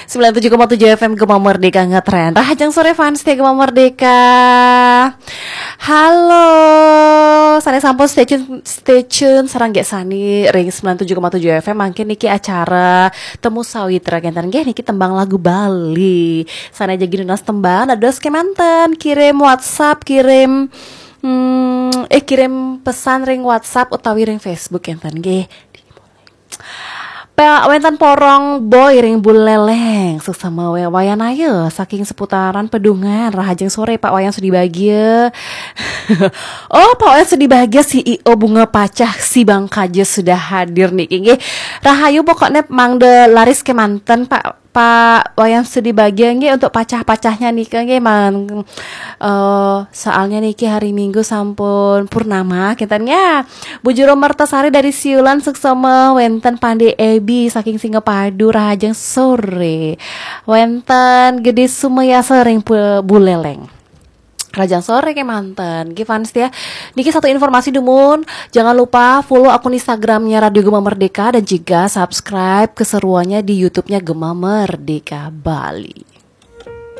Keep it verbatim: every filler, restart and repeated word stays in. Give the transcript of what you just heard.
Sembilan tujuh koma tujuh F M Gema Merdeka ngetren. Rahajeng sore fans setia Gema Merdeka. Halo, sané sampun stay tune, stay tune sareng Gék Sani ring sembilan tujuh koma tujuh F M. Mangkin niki acara Temu Sawitra kénten nggih, niki tembang lagu Bali. Sané jagi nunas tembang dados kémanten, kirim WhatsApp, kirim hmm, eh kirim pesan ring WhatsApp utawi ring Facebook kénten nggih. Pak wénten Porong Boy ring Buleleng, suksma wé-, Wayan Ayu saking seputaran Pedungan, rahajeng sore Pak Wayan Sudi Bagia. Oh, Pak Wayan Sudi Bagia, C E O Bunga Pacah, si Bangkaja sudah hadir niki nggih. Rahayu pokoknya mangda laris kémanten Pak Pak Wayan Sudi Bagia nggih untuk pacah-pacahnya nika nggih man eh soalnya niki hari Minggu sampun purnama kénten ya. Bu Juru Mertasari dari Siulan suksma, wénten Pandé Ebi saking Singapadu, rahajeng sore. Wénten Gedé Sumayasa ring Pu-, Buleleng. Rahajeng sore kémanten. Nggih fans ya. Niki satu informasi dumun, jangan lupa follow akun Instagramnya Radio Gema Merdeka dan juga subscribe keseruannya di YouTube-nya Gema Merdeka Bali.